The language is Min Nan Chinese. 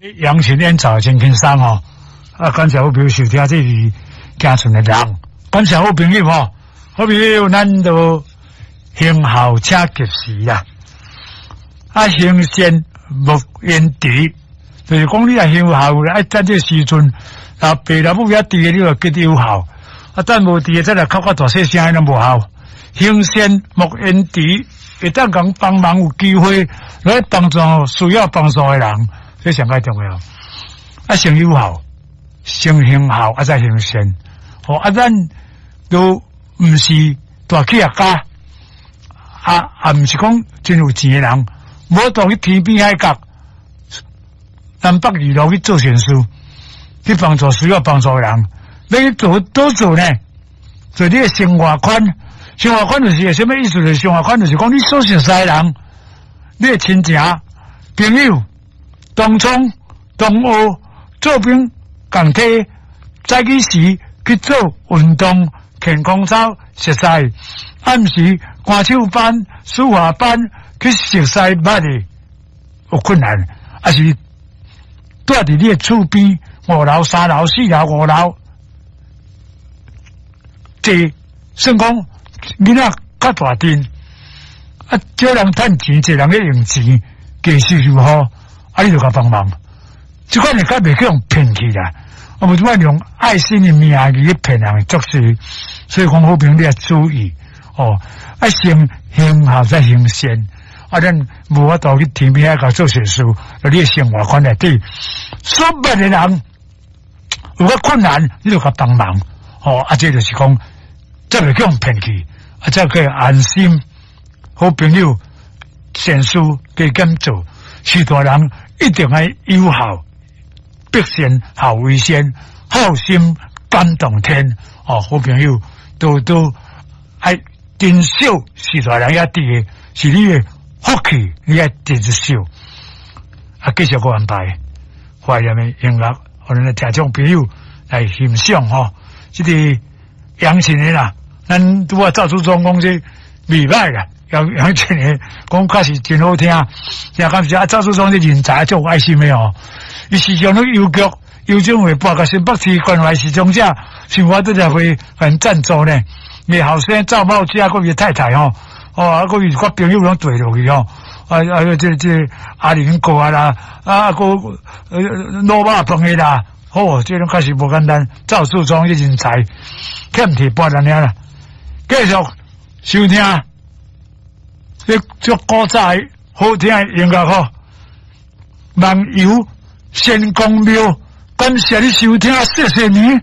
揚琴演奏真輕鬆哦，啊，感謝好朋友收聽，這是行船的人，感謝好朋友吼，好朋友咱都行孝請及時啦，啊，行善莫延遲，就是講你若行孝，愛趁這個時陣，啊，爸老母遐佇的，你就結有孝，啊，等無佇的，再來哭較大細聲，攏無效。行善莫延遲，會當共幫忙有機會來幫助需要幫助的人，這上蓋重要。啊，先有孝，先行孝，啊，再行善。吼，啊，咱都毋是大企業家，啊，也毋是講真有錢的人，無當去天邊海角、南北二路去做善事，去幫助需要幫助的人。欲去做佗做呢？做你的生活圈，生活圈就是啥物意思？就是生活圈就是講你所熟悉的人，你的親情、朋友、同窗、同學、做兵共體，早起時去做運動、健康操、熟似，暗時歌手班、書法班去熟似捌的有困難，抑是蹛佇你的厝邊五樓、三樓、四樓、五樓。這算講囡仔較大陣，啊，少人趁錢，濟人咧用錢，加收入好，啊，你就共幫忙。這款會較袂去予騙去啦，啊，無這擺用愛心的名義去騙人作事，所以講好朋友你愛注意哦，愛先行孝再行善，啊，咱無法度去天邊海角做善事，你的生活圈內底，所捌的人有較困難，你就共幫忙，哦，啊，這就是講。才袂去予騙去，啊，才可以安心。好朋友善事加減做，序大人一定愛有孝，百善孝為先，孝心感動天。哦，好朋友都都愛珍惜序大人遐佇的，是你的福氣，你愛珍惜。啊，繼續閣安排懷念的音樂，予咱的聽眾朋友來欣賞吼，這個。揚琴的啦，咱拄仔趙祖忠講這袂歹啦，揚揚琴的講確實真好聽，聽感謝啊，趙祖忠這人才足有愛心的哦，伊時常攏郵局郵政會撥共新北市關懷失聰者，想法拄才會很贊助呢。伊後生趙茂家，閣伊太太吼，哦，啊，閣伊個朋友攏綴落去吼，啊啊，這這阿玲哥啊啦，啊，閣滷肉飯的啦。哦，這種確實無簡單，趙樹忠這人才，欠提撥咱爾啦。繼續收聽，這足古早的好聽的音樂吼。夢遊仙公廟，感謝你收聽，謝謝你。